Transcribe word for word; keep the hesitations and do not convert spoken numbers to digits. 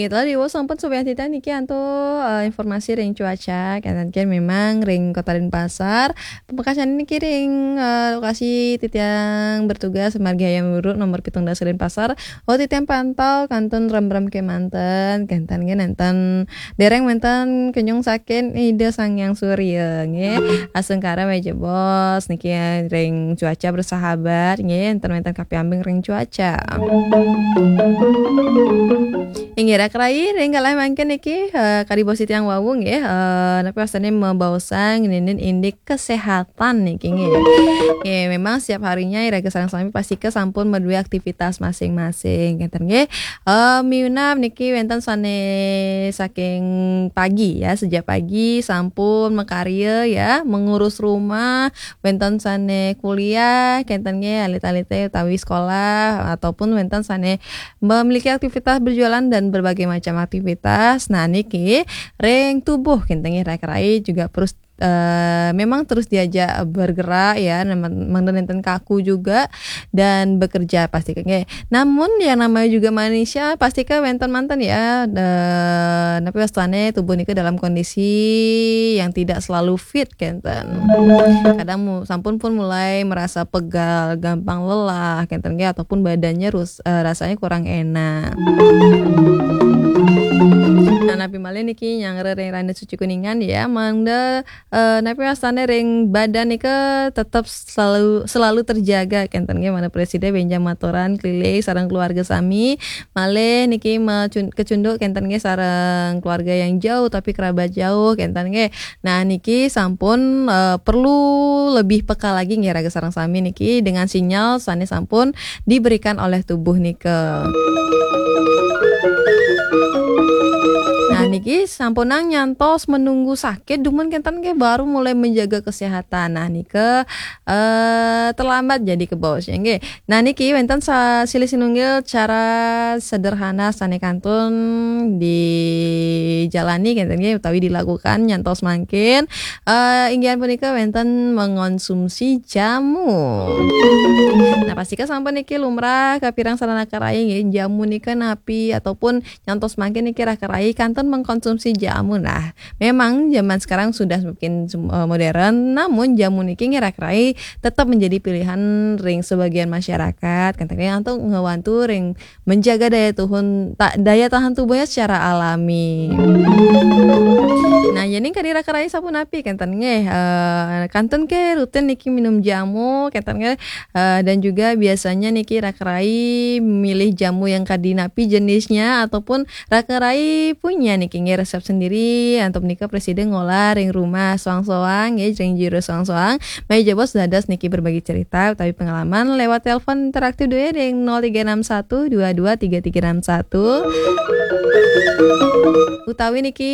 Lalu di sampun Subyantita niki antuk, eh, informasi ring cuaca, kenten nggih memang ring Kota Denpasar. Pamekasane niki ring, eh, lokasi titiang bertugas margi Hayam Wuruk nomor pitung dasa Denpasar. Oh, titiang pantau kantun remrem kemanten, kenten nggih nenten dereng wenten kenyung saking Ida Sang Hyang Surya nggih. Asung kara meja bos niki ring cuaca bersahabat nggih, enten wenten kapiambing ring cuaca. Inggih, rak rai, ring galah mangkin niki, eh, kadi bos titiang wau nggih, eh, napi wastane mabaosang ninin indik kesehatan niki nggih. Nggih, memang setiap harinya iraga sareng sami pasti ke sampun madue aktivitas masing-masing, kenten nggih. Eh, miunab niki wenten sane saking pagi ya, sejak pagi sampun makarya ya, mengurus rumah, wenten sane kuliah, kenten nggih, alit-alite utawi sekolah, ataupun wenten sane memiliki aktivitas berjualan dan berbagai macam aktivitas. Nah, niki ring tubuh kenten nggih rak rai juga terus, eh, memang terus diajak bergerak ya, mangda nenten kaku juga dan bekerja pasti nggih. Namun yang namanya juga manusia pasti ke wenten manten ya, eh, napi wastane tubuh nika dalam kondisi yang tidak selalu fit kenten. Kadang mu-, sampun pun mulai merasa pegal, gampang lelah kenten nggih, ataupun badannya rus-, eh, rasanya kurang enak. Nah, napi malih niki nyanggra ring Randa Suci Kuningan ya, mangda, eh, napi wastane ring badan nika tetap selalu, selalu terjaga kenten nggih, mangda presida benjang maturan keliling sareng keluarga sami, malih niki macun-, kecunduk kenten nggih sareng keluarga yang jauh tapi kerabat jauh kenten nggih. Nah, niki sampun, eh, perlu lebih peka lagi nggih raga sareng sami niki dengan sinyal sane sampun diberikan oleh tubuh nika. Nah, niki sampunang nyantos menunggu sakit, dumun kenten nggih baru mulai menjaga kesehatan. Nah, nika, eh, terlambat jadi kebaos ya nggih. Nah, niki wenten sa-, silih sinunggil cara sederhana sane kantun dijalani kenten nggih utawi dilakukan nyantos mangkin, eh, inggih punika wenten mengonsumsi jamu. Nah, pastika sampun niki lumrah kapireng sareng rak rai nggih, jamu nika napi ataupun nyantos mangkin niki rak rai kantun mengkonsumsi jamu. Nah, memang zaman sekarang sudah semakin sem-, eh, modern, namun jamu niki nggih rak rai tetap menjadi pilihan ring sebagian masyarakat, kenten nggih, untuk ngewantu ring menjaga daya tuhun, ta-, daya tahan tubuhnya secara alami. Nah, yening kadi rak rai sapunapi kenten nggih, eh, kantun ke rutin niki minum jamu kenten nggih, eh, dan juga biasanya niki rak rai milih jamu yang kadi napi jenisnya ataupun rak rai punya niki nggih resep sendiri, antuk nika presida ngolah ring rumah soang-soang nggih, ring jero soang-soang. Maya jebos dados niki berbagi cerita utawi pengalaman lewat telepon interaktif due ring nol tiga enam satu dua dua tiga tiga enam satu. Utawi niki